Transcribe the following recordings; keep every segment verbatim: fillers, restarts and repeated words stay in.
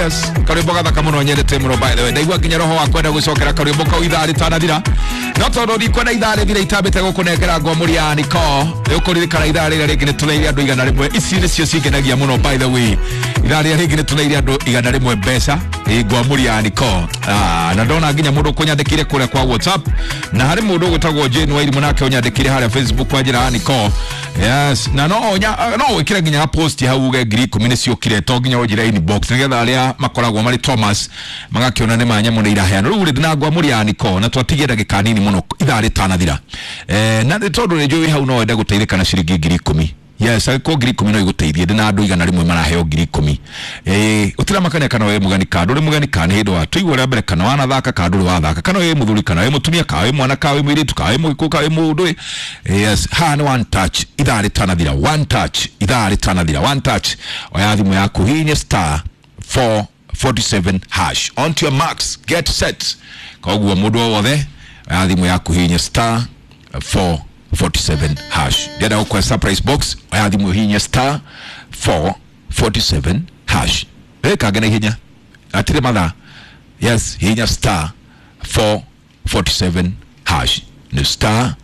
Yes, karwimbo gathaka muno nyendete muno. By the way, ndaigua nginya roho wa kwenda gucokera karwimbo kau ithaa ritanathira, no tondu ndikwenda ithaa rithira itambite gukunengera ngwamũri ya Niko. Nĩũkũririkana ithaa rĩrĩa rĩngĩ nĩtũneire andũ igana rĩmwe. Ici nĩcio cingenagia mũno. By the way, ithaa rĩrĩa rĩngĩ nĩtũneire andũ igana rĩmwe mbeca ngwamũri ya Niko. Ah, na ndona nginya mũndũ ũkũnyandĩkire kũrĩa kwa WhatsApp, na harĩ mũndũ ũgwĩtagwo Jane Wairimu nake ũnyandĩkire harĩa Facebook kwa njĩra ya Niko. Yes, na no nya no wĩkĩre nginya post hau uge ngiri ikũmi nĩciũkire, to nginya ũnjĩre inbox, nĩgetha arĩa makoragwo marĩ Thomas magakĩona nĩ ma nyamũ nĩ iraheanwo. Rĩu rĩ, ndĩna ngwamũri ya Niko na twatigie ndagĩka nini mũno ithaa rĩtanathira, eh, na tondũ nĩ njũĩ hau no wende gũteithĩka na ciringi ngiri ikũmi. Yes, angĩkorwo ngiri ikũmi no igũteithie, ndĩna andũ igana rĩmwe maraheo ngiri ikũmi. Eh, ũtiramakania kana wĩ mũgeni kana ndũrĩ mũgeni, kana nĩ hĩndĩ wa tũigua rĩa mbere, kana wanathaka kana ndũrĩ wathaka, kana wĩ mũthuri kana wĩ mũtumia, kana wĩ mwana kana wĩ mũirĩtu, kana wĩ mũgĩkũyũ kana wĩ mũndũ. Yes, haha nĩ one touch ithaa rĩtanathira. One touch ithaa rĩtanathira. One touch, oya thimũ yaku, hihinya star four forty-seven hash. On to your marks, get set. Koguo mũndũ o wothe oya thimũ yaku, hihinya star four forty-seven hash. Ndĩrenda gũkũhe surprise box. Oya thimũ, hihinya star four forty-seven hash. Ĩkange na ihenya, atirĩ mathaa. Yes, hihinya star four forty-seven hash, nĩ star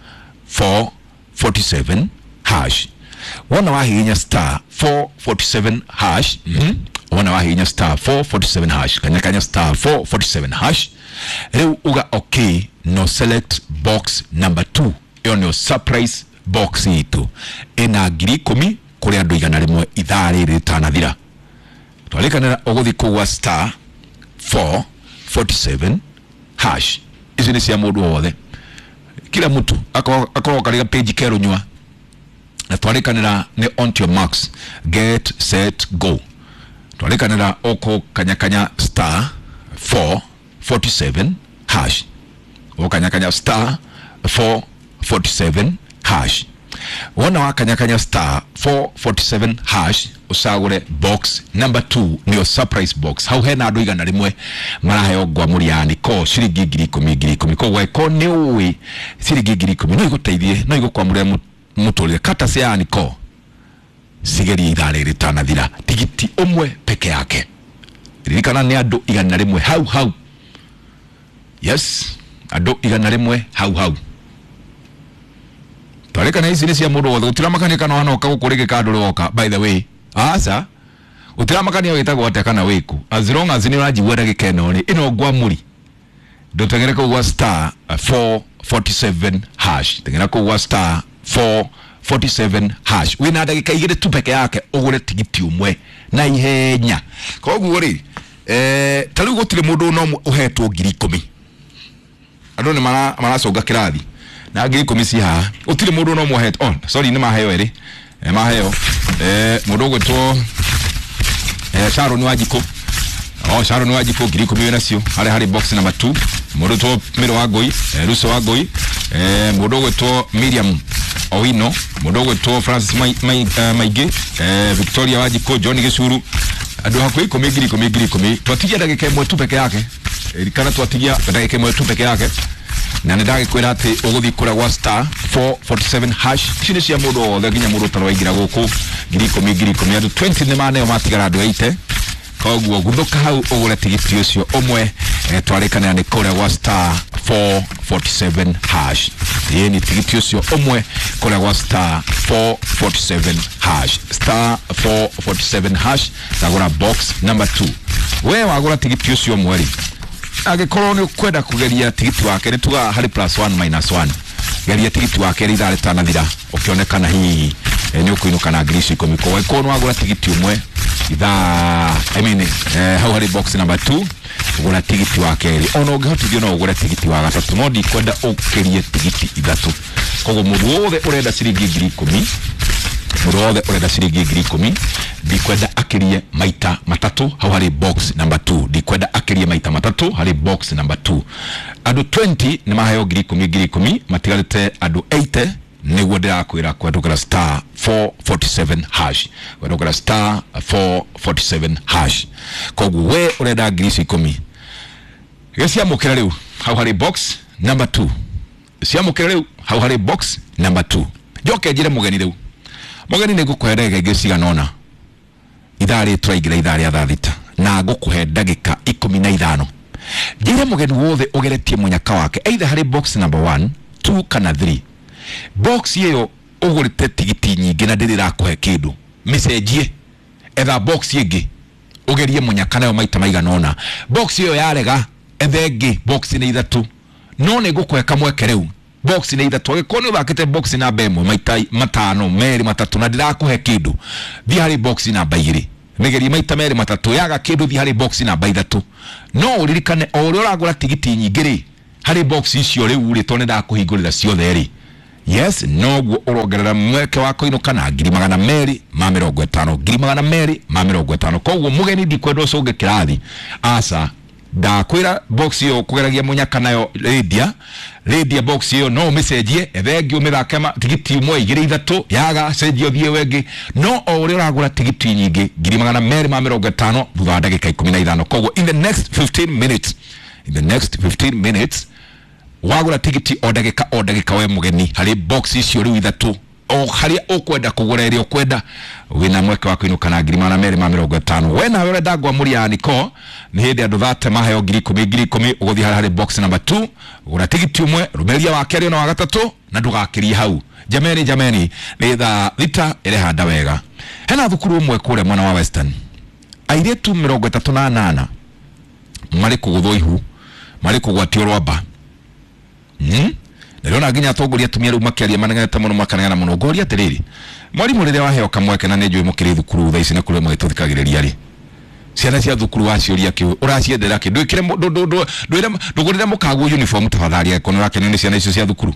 four forty-seven hash. Wona wahihinya star four forty-seven hash, mm -hmm. Wona wahihinya star four forty-seven hash, kanya kanya star four forty-seven hash, rĩu uga okay, no select box number two. Ĩyo nĩyo surprise box itũ, ĩna ngiri ikũmi kũrĩ andũ igana rĩmwe ithaa rĩrĩ rĩtanathira. Twarĩkanĩra ũgũthiĩ kũgwa star four forty-seven hash. Ici nĩ cia mũndũ wothe, kila mtu akorwo karĩ page kerũnyua. Na twarĩkanĩra nĩ on to your marks, get set, go. Twarĩkanĩra ũkũ kanyakanya star four forty-seven hash, ũkanyakanya star four forty-seven hash. Wona wakanyakanya star four forty-seven hash, ũcagũre box number two, nĩyo surprise box. Hau hena andũ igana rĩmwe maraheo ngwamũri ya Niko ciringi ngiri ikũmi ngiri ikũmi. Koguo angĩkorwo nĩ ũĩ ciringi ngiri ikũmi no igũteithie, no igũkwamũrĩre mũtũrĩre, kata cia Niko cigerie ithaa rĩrĩ rĩtanathira, tigiti ũmwe peke yake. Ririkana nĩ andũ igana rĩmwe hau hau. Yes, andũ igana rĩmwe hau hau. Twarĩkana ici nĩ cia mũndũ wothe, gũtiramakania kana wanoka gũkũ rĩngĩ kana ndũrĩ woka. By the way, aca, gũtiramakania wĩtagwo atĩa kana wĩkũ, as long as nĩ ũranjigua ndagĩka ĩno rĩ, ĩno ngwamũri, ndũteng'ere kũu gwa star four forty-seven hash. Teng'era kũu gwa star four forty-seven hash, wĩna ndagĩka igĩrĩ tu peke yake ũgũre tigiti ũmwe na ihenya. Koguo rĩ, eh, ta rĩu gũtirĩ mũndũ no ũhetwo ngiri ikũmi. Andũ nĩ maraconga kĩrathi na ngiri ikũmi ci haha, gũtirĩ mũndũ no mũhetwo. Oh, sorry, nĩ maheo erĩ, eh, maheo eh, mũndũ ũgwĩtwo eh, Sharon Wanjikũ. Oh, Sharon Wanjikũ, ngiri ikũmi wĩ nacio harĩa harĩ box number two. Mũndũ ũgwĩtwo Mĩro wa Ngũi, eh, Ruso wa Ngũi, eh, mũndũ ũgwĩtwo Miriam Owino, mũndũ ũgwĩtwo Francis Mai, Mai, uh, Maingĩ, eh, Victoria Wanjikũ, John Gĩcuru, andũ hakuhĩ ikũmi, ngiri ikũmi ngiri ikũmi. Twatigia ndagĩka ĩmwe tu peke yake. Ririkana twatigia ndagĩka ĩmwe tu peke yake, na nĩ ndagĩkwĩra atĩ ũgũthiĩ kũrĩa gwa star four forty-seven hash. Ici nĩ cia mũndũ wothe, nginya mũndũ ũtarĩ waingĩra gũkũ, ngiri ikũmi ngiri ikũmi. Andũ mĩrongo ĩĩrĩ nĩ maneo matigara andũ eighty. Koguo guthũka hau ũgũre tigiti ũcio ũmwe. eh, twarĩkanĩra nĩ kũrĩa gwa star four forty-seven hash. Ĩni tigiti ũcio ũmwe kũrĩa gwa star four forty-seven hash, star four forty-seven hash, tagũra box number two. We wagũra tigiti ũcio ũmwe rĩ, angĩkorwo nĩ ũkwenda kũgeria tigiti wake, nĩ tugaga harĩ plus one minus one. Geria tigiti wake ithaa rĩtanathira, ũkĩonekana hihi eh, nĩ ũkũinũka na ngiri icio ikũmi. Koguo angĩkorwo nĩ wagũra tigiti ũmwe ithaa, I mean, eh, hau harĩ box number two, gũra tigiti wa kerĩ. Ona ũngĩhotithio no ũgũre tigiti wa gatatũ, no ndikwenda ũkĩrie tigiti ithatũ. Koguo mũndũ wothe ũrenda ciringi ngiri ikũmi, mũndũ wothe ũrenda ciringi ngiri ikũmi, ndikwenda akĩrie maita matatũ hau harĩ box number two. Ndikwenda akĩrie maita matatũ harĩ box number two. Andũ mĩrongo ĩĩrĩ nĩ maheo ngiri ikũmi ngiri ikũmi, matigarĩte andũ mĩrongo ĩnane. Nĩguo ndĩrakwĩra kũhetũkĩra star four forty-seven hash, kũhetũkĩra star four forty-seven hash. Koguo we ũrenda ngiri icio ikũmi, gĩciamũkĩra rĩu hau harĩ box number two. Ciamũkĩra rĩu hau harĩ box number two. Njoke njĩre mũgeni rĩu, mũgeni nĩ ngũkũhe ndagĩka ingĩ cigana ũna. Ithaa rĩ tũraingĩra ithaa rĩa thaa thita. Na ngũkũhe ndagĩka ikũmi na ithano. Njĩre mũgeni wothe ũgeretie mũnyaka wake either harĩ box number one, two kana three. Box ĩyo ũgũrĩte tigiti nyingĩ na ndĩrĩ ĩrakũhe kĩndũ, mĩcenjie, etha box ĩngĩ ũgerie mũnyaka nayo maita maigana ũna. Box ĩyo yarega, etha ĩngĩ. Box nĩ ithatũ, no nĩ ngũkũhe kamweke rĩu. Box nĩ ithatũ, angĩkorwo nĩ ũthakĩte box namba ĩmwe maita matano, merĩ, matatũ na ndĩrakũhe kĩndũ, thiĩ harĩ box namba igĩrĩ, mĩgerie maita merĩ matatũ. Yaga kĩndũ, thiĩ harĩ box namba ithatũ. No ũririkane, o ũrĩa ũragũra tigiti nyingĩ rĩ harĩ box icio rĩu rĩ, tondũ nĩ ndakũhingũrĩra ciothe rĩ, yes, noguo ũrongerera mweke wa kũinũka na ngiri magana merĩ ma mĩrongo ĩtano, ngiri magana merĩ ma mĩrongo ĩtano. Koguo mũgeni, ndikwenda ũcũnge kĩrathi, aca. Ndakwĩra box ĩyo kũgeragia mũnyaka nayo, rĩndia rĩndia box ĩyo, no ũmĩcenjie, ethe ĩngĩ ũmĩthake ma- tigiti ũmwe, igĩrĩ, ithatũ, yaga cenjia ũthiĩ wengĩ. No o ũrĩa ũragũra tigiti nyingĩ, ngiri magana merĩ ma mĩrongo ĩtano thutha wa ndagĩka ikũmi na ithano. Koguo in the next fifteen minutes, in the next fifteen minutes, wagũra tigiti o ndagĩka o ndagĩka, we mũgeni, harĩ box icio rĩu ithatũ, o harĩa ũkwenda kũgũra ĩrĩa ũkwenda, wĩna mweke wa kũinũka na ngiri magana merĩ ma mĩrongo ĩtano. We nawe ũrenda ngwamũria ya niko nĩ hĩndĩ andũ thate maheo ngiri ikũmi, ngiri ikũmi, ũgũthiĩ harĩa harĩ box number two, gũra tigiti ũmwe, rũmĩrĩria wa kerĩ na wa gatatũ, na ndũgakĩrie hau. Jameni, jameni, nĩ thaa thita ĩrehanda wega. Hena thukuru ũmwe kũrĩa mwena wa Western, airĩtu mĩrongo ĩtatũ na anana marĩ kũgũthwo ihu, marĩ kũgwatio rwamba. Hmm? Ndĩrona nginya atongoria atumia rĩu makĩaria manegenete mũno, makanegena mũno. Ngoria atĩrĩrĩ, mwarimũ, rĩrĩa waheo kamweke, na nĩ njũĩ mũkĩrĩ thukuru thaa ici na kũrĩa mũgĩtũthikagĩrĩria rĩ, ciana cia thukuru waciũria kĩ ũraciendera kĩ, ndwĩkĩre mũ- ndũ- ndũ- ndũ- ndwĩre ndũgũrĩre mũkaguo uniform tafadhali, angĩkorwo nĩ ũrakenio nĩ ciana icio cia thukuru.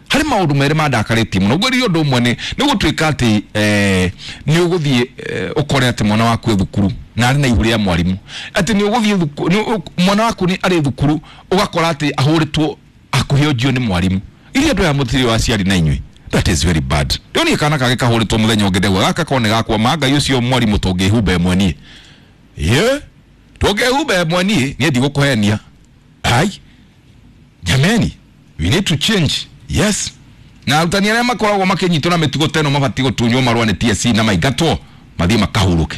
Harĩ maũndũ merĩ mandakarĩtie mũno. Ngwĩrire ũndũ ũmwe nĩ nĩ gũtuĩka atĩ eh, nĩ ũgũthiĩ eh, ũkore atĩ mwana waku e thukuru na arĩ na ihu rĩa mwarimũ, atĩ nĩ ũgũthiĩ thuku- nĩ ũ- mwana waku nĩ arĩ thukuru, ũgakora atĩ ahũrĩtwo hakuhĩ onjio nĩ mwarimũ. Iria andũ aya mũtirĩ wa aciari na inyuĩ, that is very bad. Ndĩronire kana kangĩ kahũrĩtwo mũthenya ũngĩ, ndegwa gaka kone gakwa ma Ngai ũcio mwarimũ tũngĩhumba ĩmwe niĩ, ye tũngĩhumba ĩmwe niĩ, niĩ ndigũkũhenia. Ai jameni, we need to change. Yes, na arutani arĩa makoragwo makĩnyitwo na mĩtugo ta ĩno mabatiĩ gũtunywo marũa nĩ T S C na maingatwo mathiĩ makahurũke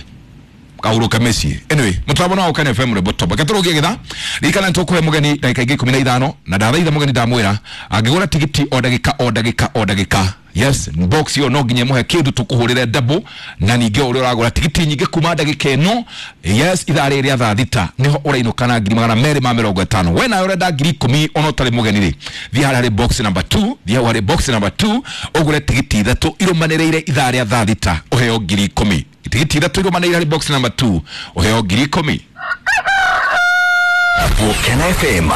kahurũke mĩciĩ. Anyway, mũtambo no Ũkene F M, rwĩmbo toba ketũrũgie gĩtha. Ririkana nĩtũkũhe mũgeni ndagĩka ingĩ ikũmi na ithano, na ndathaitha mũgeni, ndamwĩra angĩgũra tigiti o ndagĩka o ndagĩka o ndagĩka, yes, box ĩyo no nginya ĩmũhe kĩndũ, tũkũhũrĩre double. Na ningĩ o ũrĩa ũragũra tigiti nyingĩ kuma ndagĩka ĩno, yes, ithaa rĩrĩ rĩa thaa thita, nĩho ũrainũka na ngiri magana merĩ ma mĩrongo ĩtano. We nawe ũrenda ngiri ikũmi ona ũtarĩ mũgeni rĩ, thiĩ harĩa harĩ box number two, thiĩ hau harĩ box number two, ũgũre tigiti ithatũ irũmanĩrĩire ithaa rĩa thaa thita, ũheo ngiri ikũmi. Tigiti ithatũ irũmanĩrĩire harĩ box number two, ũheo ngiri ikũmi. Ũkene F M.